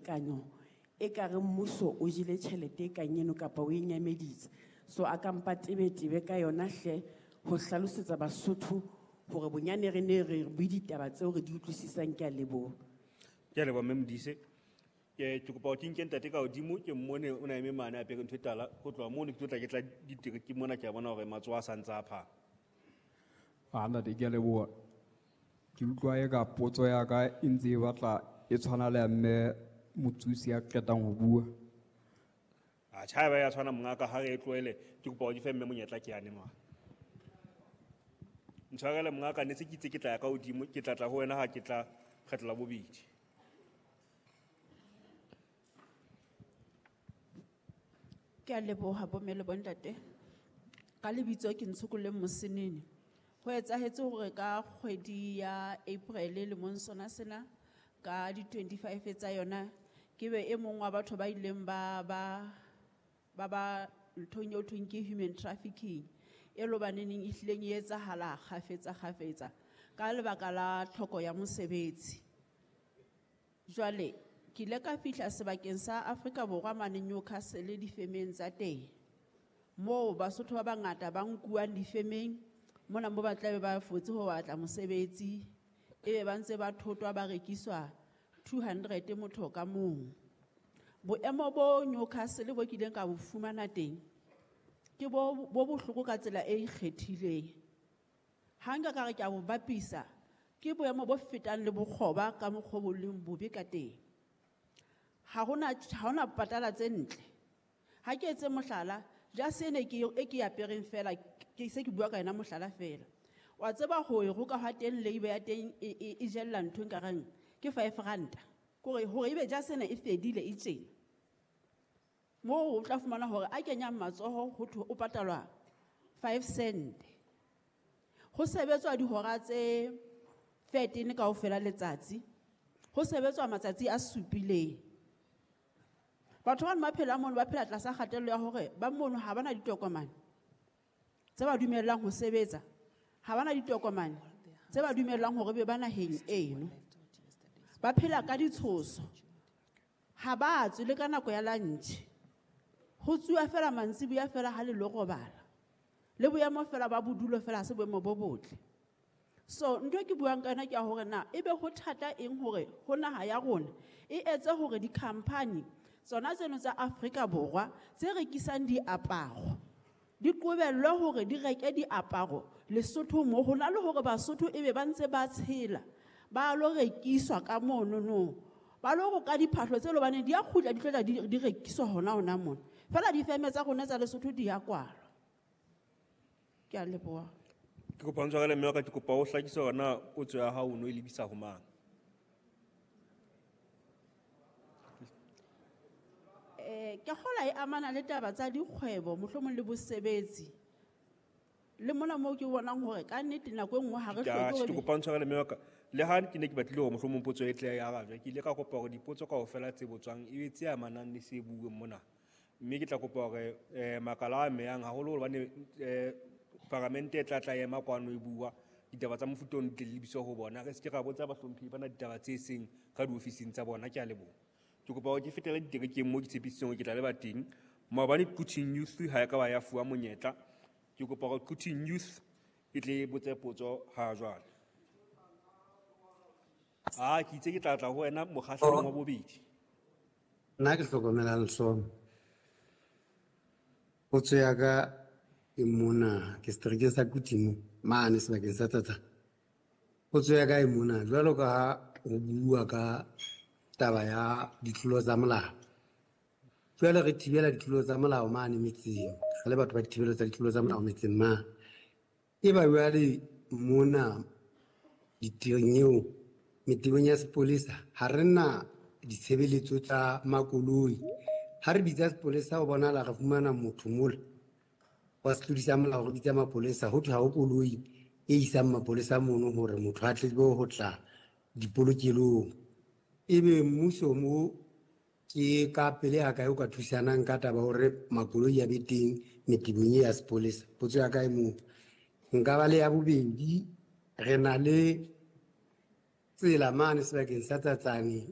tekano e ka re mmuso o jele tjhelete e kang eno kapa o e nyameditse. So a ka mpa tebetebe ka yona hle ho hlalosetsa Basotho hore bonyane re ne re bue ditaba tseo re di utlwisisang. Ke a leboha. Ke a leboha Mme Modise. Ke ke kopa hore ke nke ntate ka hodimo ke mmone o na eme mane a apere ntho e tala. Ho tloha mono ke tlo tla ke tla ditereke mona ke a bona hore matsoho a sa ntse a phahama. Ah, ntate ke a leboha. Ke utlwa eka potso ya ka e ntse e batla e tshwana le ya mme Motsusi ya qetang ho bua. Atjhe, haeba ya tshwana mongaka ha re e tlohele, ke kopa hore ke fe mme monyetla ke yane mane. Ntshwarele mongaka ne se ke itse ke tla ya ka hodimo, ke tla tla ho wena ha ke tla kgetlo la bobedi. Ke a leboha bomme le bontate. Ka lebitso ke Ntshokoleng Mosenene. Ho etsahetse hore ka kgwedi ya April lemong sona sena ka di 25 tsa yona ke be e mong wa batho ba ileng ba ba ba ba nthong eo thweng ke human trafficking e lo baneneng e hlileng e etsahala kgafetsa kgafetsa ka lebaka la tlhoko ya mosebetsi. Jwale ke ile ka fihla sebakeng sa Afrika Borwa mane Newcastle difemeng tsa teng. Moo Basotho ba bangata ba nkuwang difemeng mona mo ba tlabe ba fotse ho batla mosebetsi ebe ba ntse ba thotwa ba rekiswa 200 motho ka mong. Boemo bo Newcastle bo kileng ka bo fumana teng ke bo bo bohloko ka tsela e ikgethileng. Ha nka ka re ke a bo bapisa ke boemo bo fetang le bokgoba ka mokgwa bo leng bobe ka teng. Ha hona ha hona patala tse ntle. Ha ke etse mohlala, jase ene ke e ke apereng fela ke se ke bua ka yona mohlala fela. Wa tseba ho e roka ha teng labor ya teng e jella ntho e nkareng ke 5 ranta. Kore hore ebe jase ena e fedile e tjena. Moo o tla fumana hore a kenyang matsoho ho thwe o patalwa 5 cent. Ho sebetswa dihora tse 13 kaofela letsatsi. Ho sebetswa matsatsi a supileng. Batho ba ba phela mono ba phela tlasa kgatello ya hore ba mono ha bana ditokomane tse ba dumellang ho sebetsa, ha bana ditokomane tse ba dumellang hore be ba naheng eno. Ba phela ka ditshoso. Ha ba tswe le ka nako ya lunch. Ho tsuwa fela mantsiboya fela ha le lo robala. Le boemo fela ba bodulo fela ha se boemo bo botle. So ntho e ke buang ka yona ke ya hore na ebe ho thata eng hore ho naha ya rona e etse hore di-company tsona tseno tsa Afrika Borwa tse rekisang diaparo di qobellwe hore di reke diaparo Lesotho mo ho na le hore Basotho ebe ba ntse ba tshela ba lo rekiswa ka monono ba lo roka diphahlo tse lobaneng di a kgutla di tlo tla di rekiswa hona hona mona fela difeme tsa rona tsa Lesotho di a kwalwa. Ke a leboha. Ke kopa o ntshwarele mme wa ka, ke kopa o hlakise hore na potso ya hao o no e lebisa ho mang. Ke kgola e amana le taba tsa dikgwebo mohlomong le bosebetsi. Le mona moo ke bonang hore ka nnete nako e nngwe ha re Ke hloke hore ke kopa o ntshwarele mme wa ka. Le ha ke ne ke batlile hore mohlomong potso e tle e arabjwe, ke ile ka kopa hore dipotso kaofela tse botswang e be tse amanang le se buuweng mona. Mme ke tla kopa hore makala a amehang haholo hobane paramente e tla tla ema kwano e bua ditaba tsa mofuta ono di tle di lebiswe ho bona. Re se ke ra botsa bahlomphehi bana ditaba tse seng ka diofising tsa bona. Ke a leboha. Ke kopa hore ke fetele diterekeng moo ke tshepisitseng hore ke tla leba teng. Maobane Quthing Youth ha e ka ba ya fuwa monyetla. Ke kopa hore Quthing Youth e tle e botse potso ha jwale. Ah, ke itse ke tla tla ho wena mokgahlelong wa bobedi. Nna ke hlokomelang Lesomo. Potso ya ka e mona ke seterekeng sa Quthing mane sebakeng sa Tsatsana. Potso ya ka e mona jwalo ka ha ho bua ka taba ya ditlolo tsa molao. Jwale re thibela ditlolo tsa molao mane metseng, re le batho ba dithibelo tsa ditlolo tsa molao metseng mane. Eba jwale mona ditirong eo metebong ya sepolesa ha re na ditshebeletso tsa makoloi. Ha re bitsa sepolesa ho bonahala re fumana motho mola wa setlodi sa molao, re bitsa mapolesa, ho thwe ha ho koloi e isang mapolesa mono hore motho a tle ho tla dipolokelong. Ebe mmuso mo ke ka pele ya kae o ka thusanang ka taba hore makoloi a be teng metebong e ya sepolesa? Potso ya ka e moo. Nka ba le ya bobedi, re na le tsela mane sebakeng sa Tsatsane